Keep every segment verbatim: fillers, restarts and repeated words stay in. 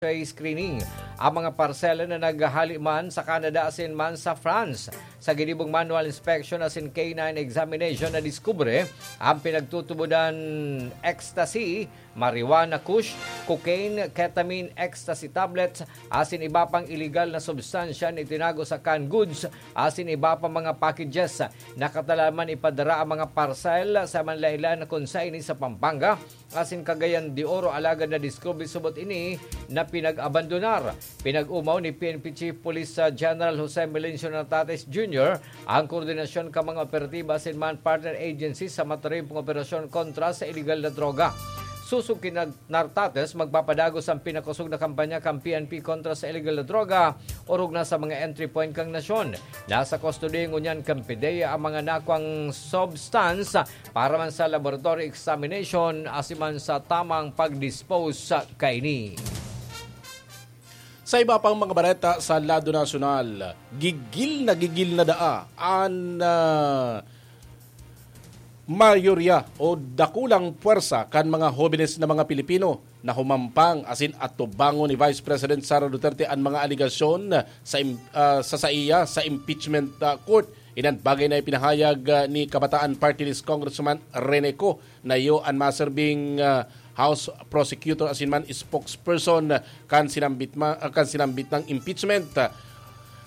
X-ray screening ang mga parsela na naghahali man sa Canada asin man sa France. Sa ginibong manual inspection asin canine examination, nadiskubre ang pinagtutubodan ecstasy, marijuana kush, cocaine, ketamine, ecstasy tablets, asin iba pang iligal na substansya na itinago sa canned goods asin iba pa mga packages. Nakatalaman ipadara ang mga parcel sa manlaen-laen na konsa ini sa Pampanga asin Cagayan de Oro, alagad nadiskubre subot ini na pinag-abandonar. Pinag-omaw ni P N P Chief Police, ah, General Jose Melencio Nartates Junior ang koordinasyon kan mga operatiba asin man partner agencies sa matarempong operasyon kontra sa iligal na droga. Sosog ki Nar-, Nartates, magpapadagos ang pinakosog na kampanya kan P N P kontra sa iligal na droga, orog na sa mga entry point kan nasyon. Nasa kustodiya ngunyan kan PDEA ang mga nakuang substance para man sa laboratory examination asin man sa tamang pag-dispose kaini. Sa iba pang mga bareta sa lado nasyonal, gigil na gigil na daa an, ah, mayorya o dakulang puwersa kan mga hobenes na mga Pilipino na humampang asin atubangon ni Vice President Sara Duterte an mga alegasyon sa im-, ah, sa saiya sa impeachment, ah, court. Inan bagay na ipinahayag, ah, ni Kabataan Party List Congressman Rene Co na iyo an maserbing, ah, House Prosecutor asin man spokesperson kan sinambit ma-, ah, kan sinambit nang impeachment.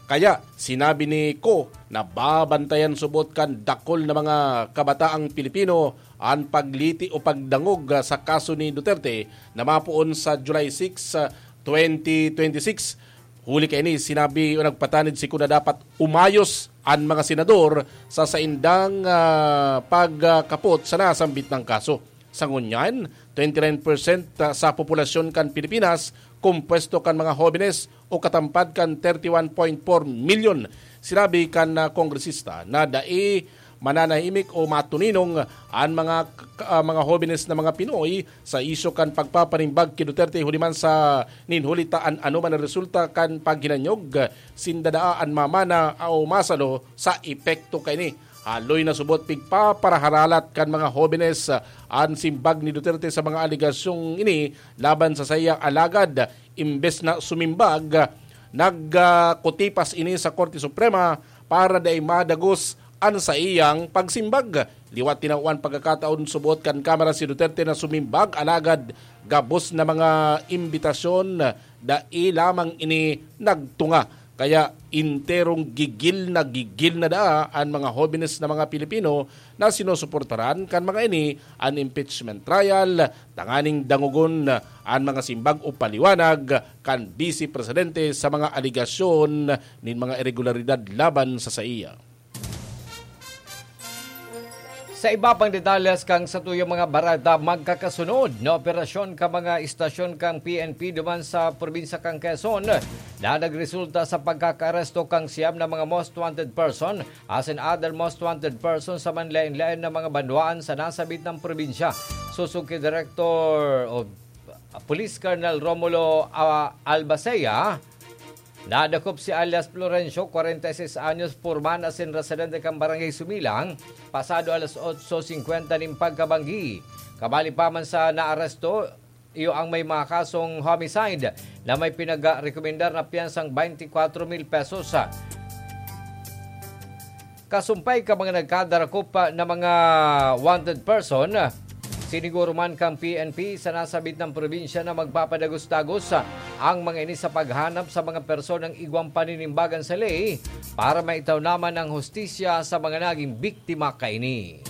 Kaya sinabi ni Co na babantayan subot kan dakul na mga kabataang Pilipino an pagliti o pagdangog, ah, sa kaso ni Duterte na mapoon sa July six, ah, twenty twenty-six. Huli kaini, sinabi o nagpatanid si Co na dapat umayos an mga senador sa saindang, ah, pagkapot sa nasambit nang kaso. Sa ngunyan, twenty nine percent sa populasyon kan Pilipinas kompuesto kan mga hobenes o katampad kan thirty one point four milyon. Sinabi kan, ah, kongresista na dai mananahimik o matuninong an mga k-, ah, mga hobenes na mga Pinoy sa isyu kan pagpapanimbag ki Duterte huli man sa nin huli ta an anoman na resulta kan paghinanyog sinda daa an mamana o masalo sa epekto kaini. Haloy na subot pigpaparaharalat kan mga hobenes, ah, an simbag ni Duterte sa mga alegasyong ini laban sa saiyang alagad. Imbes na sumimbag, nagkutipas ini sa Korte Suprema para dai madagos an saiyang pagsimbag. Liwat tinawan pagkakataon subot kan Kamara si Duterte na sumimbag, alagad gabos na mga imbitasyon, dai lamang ini nagtunga. Kaya enterong gigil na gigil na daa an mga hobenes na mga Pilipino na sinusuportaran kan mga ini an impeachment trial, tanganing dangogon an mga simbag o paliwanag kan Vice Presidente sa mga alegasyon nin mga iregularidad laban sa saiya. Sa iba pang detalles kan satuyang mga bareta, magkakasunod na operasyon kan mga istasyon kan P N P duman sa probinsya kan Quezon na nagresulta sa pagkakaaresto kan siyam na mga most wanted person asin other most wanted person sa manlaen-laen na mga banwaan sa nasabit na probinsya. Sosog ki Direktor o Police Colonel Romulo, ah, Albacea, nadakop si alias Florencio, kwarenta y seis anyos, purman asin residente kan Barangay Sumilang, pasado alas otso singkwenta nin pagkabanggi. Kabali pa man sa naaresto, iyo ang may mga kasong homicide na may pinagrekomendar na piyansang twenty-four mil pesos. Kasumpay ka mga nagkadarakop na mga wanted person, siniguro man kang P N P sa nasabit na probinsya na magpapadagos-dagos ang mga ini sa paghanap sa mga personang igwang paninimbagan sa ley para maitaw naman ang hustisya sa mga naging biktima kaini.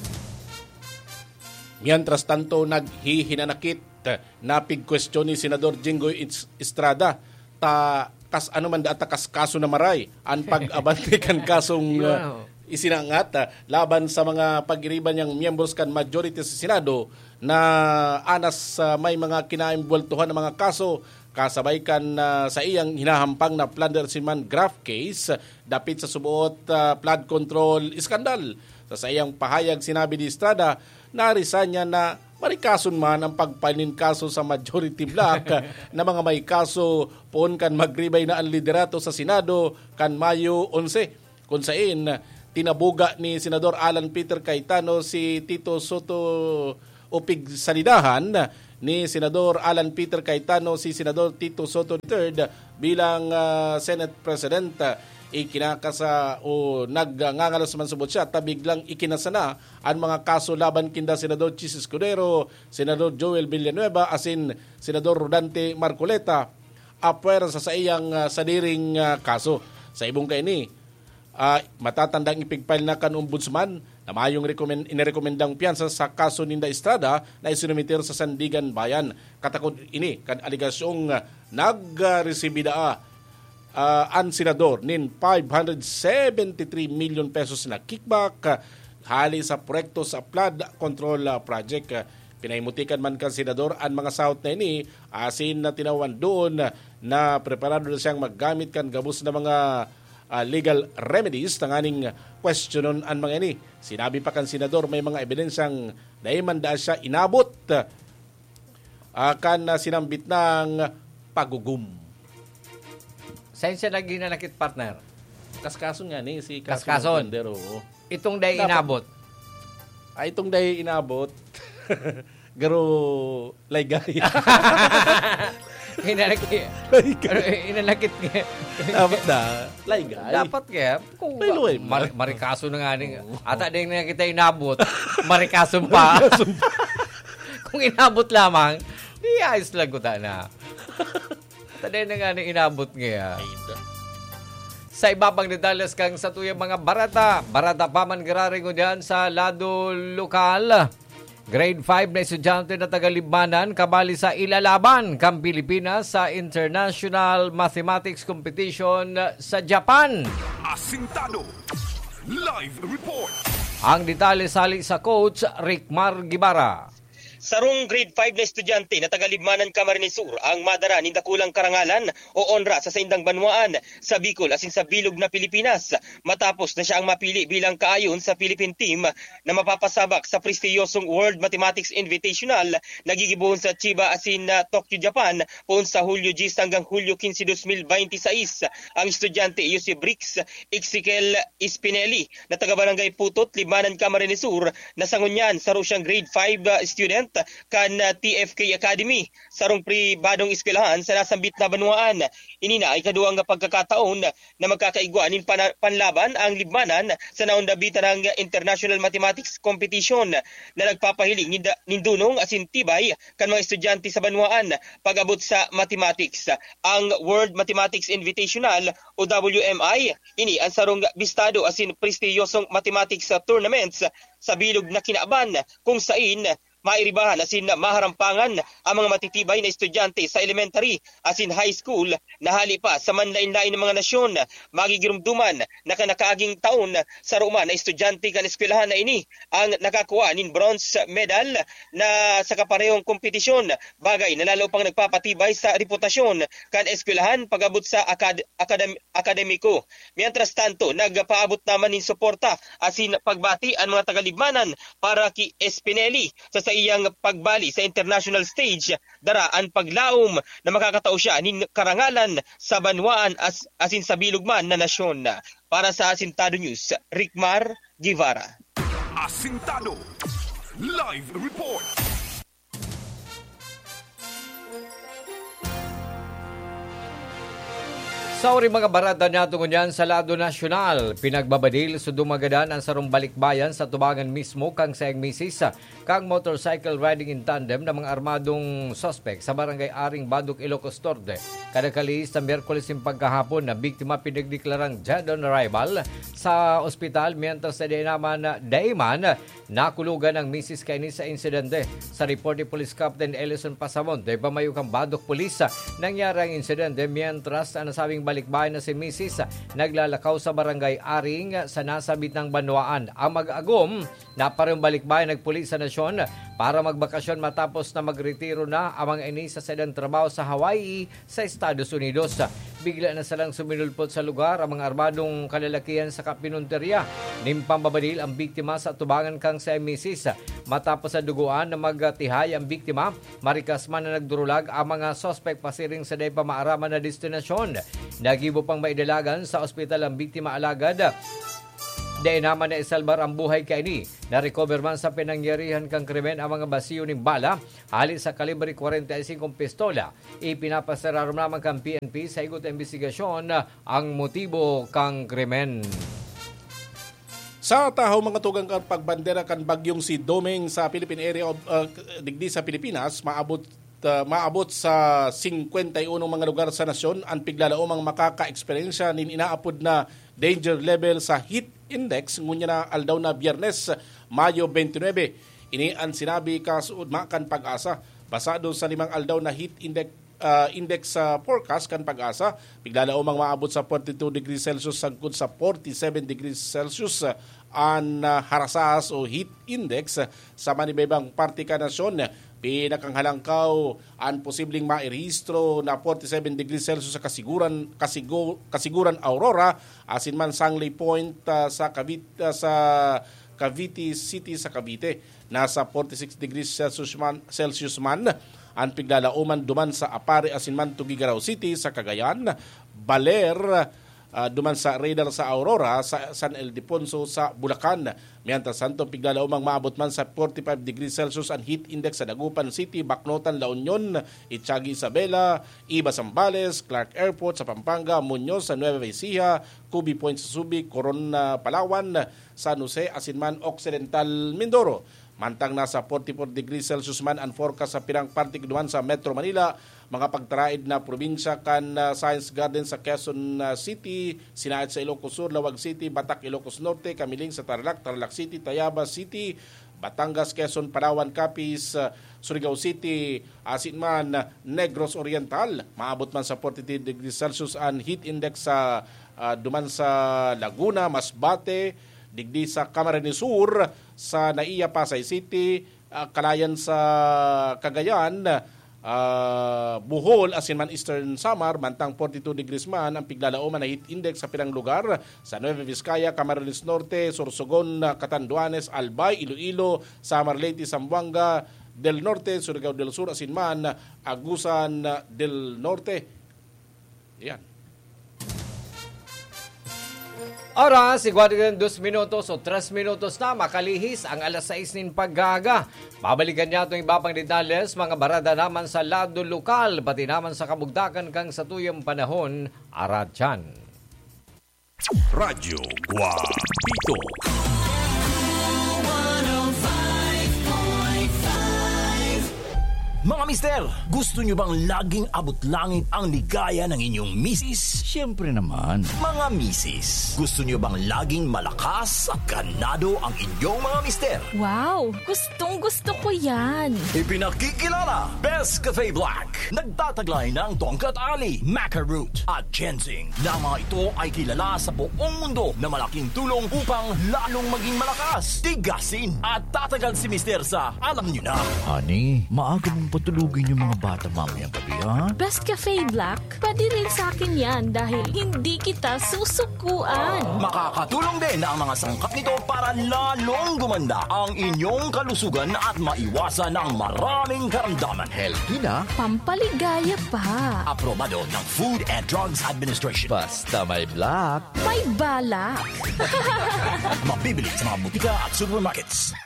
Mientras tanto, naghihinanakit na pigkwestiyon ni Senador Jinggoy Is-, Estrada ta kas ano man data kas kaso na maray an pag-abante kan kasong, Yun, ah, oh. isinangat, ah, laban sa mga pag-iriba niyang miyembros kan majority sa Senado na anas, ah, may mga kinaimbweltohan na mga kaso kasabay kan, ah, sa iyang hinahampang na plunder si man graft case, ah, dapit sa suboot, ah, flood control scandal. Sa saiyang pahayag, sinabi ni Estrada na resign niya na marikason man ang pagpanin kaso sa majority bloc na mga may kaso poon kan magribay na ang liderato sa Senado kan Mayo onse, kun sain tinabuga ni Senador Alan Peter Cayetano si Tito Soto o pigsalidahan ni Senador Alan Peter Cayetano si Senador Tito Sotto the third bilang, ah, Senate President. Ikinakasa o nagngangalos man subot siya ta biglang ikinasa na an mga kaso laban kinda Senador Chiz Escudero, Senador Joel Villanueva asin Senador Rodante Marcoleta apwera sa saiyang, ah, sadiring, ah, kaso. Sa ibong kaini, ah, matatandang ipigpile na kan Ombudsman na mayong rekomen-, inirekomendang piyansa sa kaso ninda Estrada na isinumiter sa Sandiganbayan. Katakod ini kan alegasyong, ah, nagresibi daa, ah, an senador nin five hundred seventy three million pesos na kickback, ah, hali sa proyekto sa flood control, ah, project. Ah, pinahimutikan man kan senador an mga sahot na ini, asin na tinawan doon na preparado na siyang maggamit kan gabos na mga, ah, legal remedies tanganing kwestiyonon an mga ini. Sinabi pa kan senador may mga ebidensyang dai man daa siya inabot, ah, kan, ah, sinambit nang pagugum. Saan siya naghinanakit, partner? Kaskason nga ni si Kaskason. Kaskason. Wonder, oo. Itong dai Dapat inabot. Ah, itong dai inabot. Garo laygay. Hinanakit. Laygay. Hinanakit niya. Dapat na. Laygay. Dapat kaya. Kung May luway mar- man. Marikaso na nga ni. Oo. Ata din na kita inabot. Marikaso pa. Marikaso pa. Kung inabot lamang, di ayos lang kuta na. Ata din na nga ni inabot niya. Ay, da. Sa iba pang detalles kang sa tuyang mga barata, barata pa man giraringon diyan sa lado lokal. Grade five na estudyante na taga Libmanan kabali sa ilalaban kan Pilipinas sa International Mathematics Competition sa Japan. Asintado. Live report. Ang detalye sali sa Coach Rickmar Guevara. Sarong grade five na estudyante na taga Libmanan, Camarines Sur ang madara nin dakulang karangalan o onra sa saindang banwaan, sa Bicol asin sa bilog na Pilipinas, matapos na siya ang mapili bilang kaayon sa Philippine team na mapapasabak sa prestiyosong World Mathematics Invitational na gigibohon sa Chiba asin, ah, Tokyo, Japan, poon sa Hulyo diyes hanggang Hulyo kinse, dos mil baynte sais. Ang estudyante iyo si Brix Ezekiel Spinelli na taga Barangay Putot, Libmanan, Camarines Sur, na sa ngunyan saro siyang grade five, ah, student kan, ah, T F K Academy, sarong pribadong eskwelahan sa nasambit na banwaan. Ini na ikaduwa nga pagkakataon na magkakaigwa nin pana-, panlaban ang Libmanan sa naonda bitanang International Mathematics Competition na nagpapahiling nin da-, nin dunong asin tibay kan mga estudyante sa banwaan pag-abot sa mathematics. Ang World Mathematics Invitational o W M I, ini ang sarong bistado asin prestiyosong mathematics tournaments sa bilog na kinaban, kung sain mairibahan asin maharampangan ang mga matitibay na estudyante sa elementary asin high school na hali pa sa manlain-lain na mga nasyon. Magigirumduman na kan nakaaging taon, saro man na estudyante kan eskwelahan na ini ang nakakuha nin bronze medal na sa kaparehong kompetisyon, bagay na lalo pang nagpapatibay sa reputasyon kan eskwelahan pag-abot sa akad-, akadem-, akademiko. Mientras tanto, nagpaabot naman nin suporta asin pagbati an mga taga-Libmanan para ki Espineli sa saiyang pagbali sa international stage, dara an paglaom na makakatao siya nin karangalan sa banwaan as-, asin sa bilog man na nasyon. Para sa Asintado News, Rickmar Guevara. Asintado. Live report. Sa uri mga barata niya tungo niyan sa lado nasyonal, pinagbabadil sa dumagadan ang sarong balikbayan sa tubangan mismo kang sayang misis kang motorcycle riding in tandem na mga armadong suspek sa barangay Aring Badok, Ilocos Norte. Kada kalihis na Miyerkules nin pagkahapon na biktima pinagdeklarang dead on arrival sa ospital, mientras na di naman, daiman, Nakulugan ang misis kaini sa insidente. Sa report ni Police Captain Ellison Pasamon, dai pa mayo kan Badok Police, nangyari ang insidente, mientras ang nasabing balikbayan na si misis naglalakaw sa barangay Aring sa nasabit ng banwaan. Ang mag-agom na parehong balikbayan nagpuli sa nasyon para magbakasyon matapos na magretiro na ang mga ini sa sadang trabaho sa Hawaii sa Estados Unidos. Bigla na salang suminulpot sa lugar ang mga armadong kalalakihan sa kapinunterya nin pambabadil ang biktima sa tubangan kang sa misis. Matapos sa dugoan na magtihay ang biktima, marikas man na nagdurulag ang mga suspek pasiring sa dai pa maaraman na destinasyon. Nagibo pang maidalagan sa ospital ang biktima, alagad Dai naman naisalbar ang buhay kaini. Na-recover man sa pinangyarihan kan krimen ang mga basiyo nin bala, hali sa kalibre kwarenta y singko pistola. Ipinapasararom naman kan P N P sa igot na imbestigasyon ang motibo kan krimen. Sa tahaw, mga tugang, kan pagbandera kan bagyong si Doming sa Philippine Area of, uh, digdi sa Pilipinas, maabot, uh, maabot sa singkwenta y unong mga lugar sa nasyon an piglalaomang makaka-eksperyensya nin inaapod na danger level sa heat index ngunyan na aldaw na Biyernes, Mayo twenty-nine. Ini an sinabi kasuodma kan PAGASA. Basado sa limang aldaw na heat index, ah, index sa forecast kan PAGASA, piglalaomang maabot sa forty-two degrees Celsius sagkod sa forty-seven degrees Celsius, ah, an, ah, harasas o heat index, ah, sa manibaybang parte kan nasyon. Pinakanghalangkaw an posibleng mairehistro na forty-seven degrees Celsius sa Kasiguran, Kasigo-, Kasiguran Aurora, asin man Sangley Point, ah, sa Cavite, ah, sa Cavite City sa Cavite. Nasa forty-six degrees Celsius man, Celsius man an piglalaoman duman sa Aparri asin man Tuguegarao City sa Cagayan, Baler, ah, duman sa radar sa Aurora, sa San Ildefonso sa Bulacan. Mientras tanto, piglalaomang maabot man sa forty-five degrees Celsius an heat index sa Dagupan City, Bacnotan, La Union, Itiague, Isabela, Iba, Zambales, Clark Airport sa Pampanga, Muñoz sa Nueva Ecija, Cubi Point sa Subic, Coron, ah, Palawan, San Jose, asin man Occidental Mindoro. Mantang nasa forty-four degrees Celsius man an forecast sa pirang parte duman sa Metro Manila, mga pagtaraed na probinsya kan, ah, Science Garden sa Quezon, ah, City, Sinaid sa Ilocos Sur, Laoag City, Batac, Ilocos Norte, Camiling sa Tarlac, Tarlac City, Tayabas City, Batangas, Quezon, Palawan, Capiz, ah, Surigao City, asin man, ah, Negros Oriental. Maabot man sa forty-three degrees Celsius an heat index sa, ah, duman sa Laguna, Masbate, digdi sa Camarines Sur, sa NAIA, Pasay City, ah, Calayan sa Cagayan, ah, Bohol, asin man Eastern Samar, mantang forty-two degrees man ang piglalaoman na heat index sa pirang lugar sa Nueva Vizcaya, Camarines Norte, Sorsogon, Catanduanes, Albay, Iloilo, Samar, Leyte, Zamboanga del Norte, Surigao del Sur, asin man Agusan del Norte. Yan. Oras, iguwa dos minutos o tres minutos na makalihis ang alas sais nin pag-aaga. Babalikan niya itong iba pang detalles, mga barada naman sa lado lokal, pati naman sa kabugtakan kan satuyang panahon, aratyan. Radyo Guapito. Mga mister, gusto nyo bang laging abot langit ang ligaya ng inyong misis? Siyempre naman. Mga misis, gusto nyo bang laging malakas at ganado ang inyong mga mister? Wow! Gustong gusto ko yan! Ipinakikilala, Best Cafe Black. Nagtataglay ng tongkat ali, maca root, at ginseng, na mga ito ay kilala sa buong mundo na malaking tulong upang lalong maging malakas, tigasin, at tatagal si mister sa, alam nyo na. Honey, maaga mong patulugin yung mga bata mamayang gabi, ha? Best Cafe Black, pwede rin sa akin yan dahil hindi kita susukuan. Makakatulong din ang mga sangkap nito para lalong gumanda ang inyong kalusugan at maiwasan ang maraming karamdaman. Healthy na. Pampaligaya pa. Aprobado ng Food and Drugs Administration. Basta may black. May balak. Mabibili sa mga butika at supermarkets.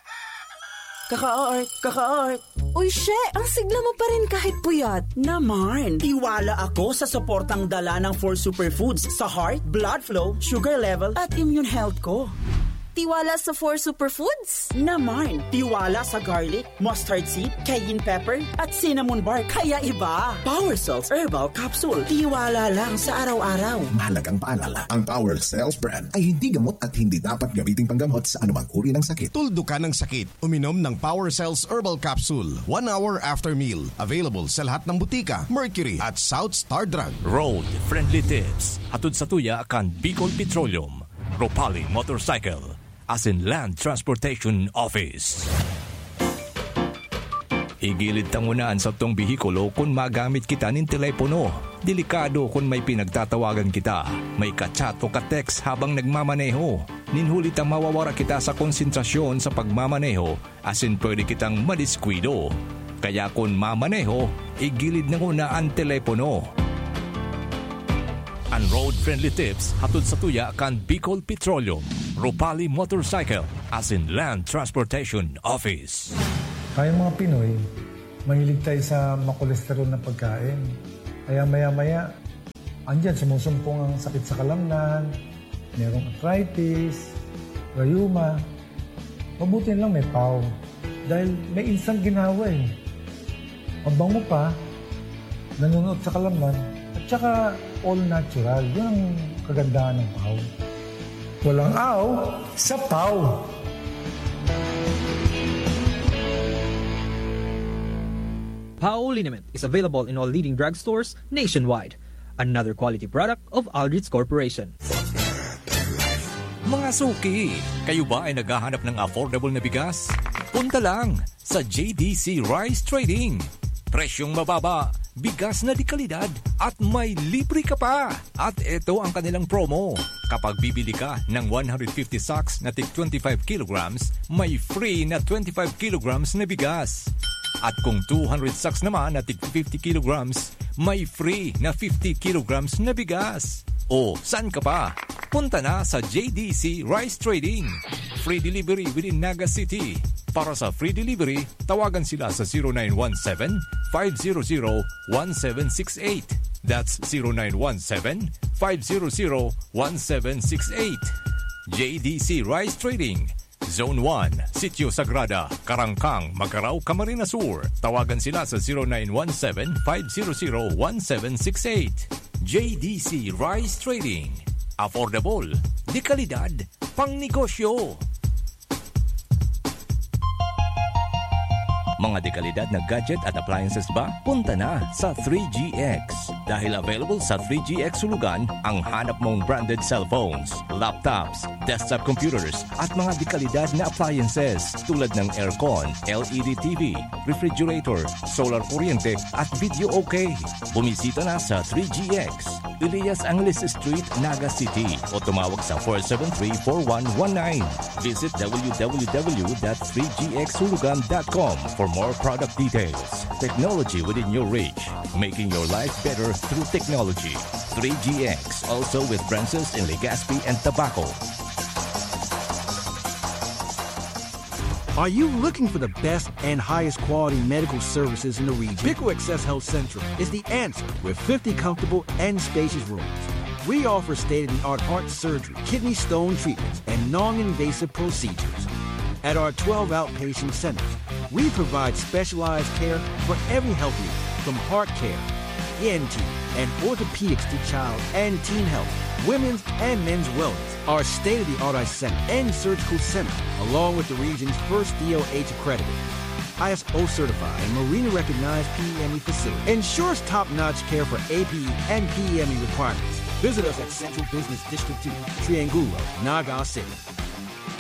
Kaka-art, kaka-art. Uy, she! Ang sigla mo pa rin kahit puyat. Naman, tiwala ako sa suportang dala ng Four Superfoods sa heart, blood flow, sugar level, at immune health ko. Tiwala sa Four Superfoods? Naman, tiwala sa garlic, mustard seed, cayenne pepper, at cinnamon bark. Kaya iba. Power Cells Herbal Capsule. Tiwala lang sa araw-araw. Mahalagang paalala, ang Power Cells brand ay hindi gamot at hindi dapat gamiting panggamot sa anumang uri ng sakit. Tuldukan ang sakit. Uminom ng Power Cells Herbal Capsule one hour after meal. Available sa lahat ng butika, Mercury at South Star Drug. Road Friendly Tips. Hatod sa tuya kan Bicol Petroleum, Ropali Motorcycle, asin Land Transportation Office. Igilid ta nguna an satong behikulo kun magamit kita nin telepono. Delikado kun may pinagtatawagan kita, may ka-chat o ka-text habang nagmamaneho. Nin huli ta mawawara kita sa konsentrasyon sa pagmamaneho asin pwede kitang madiskuido. Kaya kun mamaneho, igilid na nguna an telepono. An Road Friendly Tips hatod sa tuya kan Bicol Petroleum. Rupali Motorcycle, as in Land Transportation Office. Tayong mga Pinoy, mahilig tayo sa makolesterol na pagkain. Kaya maya-maya, andyan sumusumpong ang sakit sa kalamnan, merong arthritis, rayuma. Mabuti lang may pau. Dahil may instant ginawa eh. Mabango pa, nanunuot sa kalamnan, at saka all natural. Yun ang kagandahan ng pau. Walang aw sa pau. Pau liniment is available in all leading drugstores nationwide. Another quality product of Aldrich Corporation. Mga suki, kayo ba ay naghahanap ng affordable na bigas? Punta lang sa J D C Rice Trading. Presyong mababa, bigas na de kalidad, at may libre ka pa! At eto ang kanilang promo. Kapag bibili ka ng one hundred fifty sacks na tig twenty-five kilograms, may free na twenty-five kilograms na bigas. At kung two hundred sacks naman na tig fifty kilograms, may free na fifty kilograms na bigas. O, saan ka pa? Punta na sa J D C Rice Trading. Free delivery within Naga City. Para sa free delivery, tawagan sila sa zero nine one seven, five zero zero, one seven six eight. That's zero nine one seven, five zero zero, one seven six eight. J D C Rice Trading, Zone one, Sitio Sagrada, Karangkang, Magarao, Camarines Sur. Tawagan sila sa zero nine one seven, five zero zero, one seven six eight. J D C Rice Trading. Affordable, de kalidad, pang negosyo. Mga dekalidad na gadget at appliances ba? Punta na sa three G X. Dahil available sa three G X Hulugan ang hanap mong branded cellphones, laptops, desktop computers, at mga dekalidad na appliances tulad ng aircon, L E D T V, refrigerator, solar kuryente, at video okay. Bumisita na sa three G X, Elias Angeles Street, Naga City, o tumawag sa four seven three, four one one nine. Visit w w w dot three g x hulugan dot com for more product details. Technology within your reach, making your life better through technology. Three G X, also with branches in Legazpi and Tabaco. Are you looking for the best and highest quality medical services in the region? Pico Access Health Central is the answer with fifty comfortable and spacious rooms. We offer state-of-the-art heart surgery, kidney stone treatments, and non-invasive procedures. At our twelve outpatient centers, we provide specialized care for every health need, from heart care, E N T, and orthopedics to child and teen health, women's and men's wellness. Our state-of-the-art eye center and surgical center, along with the region's first D O H accredited, I S O certified, and Marina recognized P E M E facility, ensures top-notch care for A P E and P E M E requirements. Visit us at Central Business District two, Triangulo, Naga City.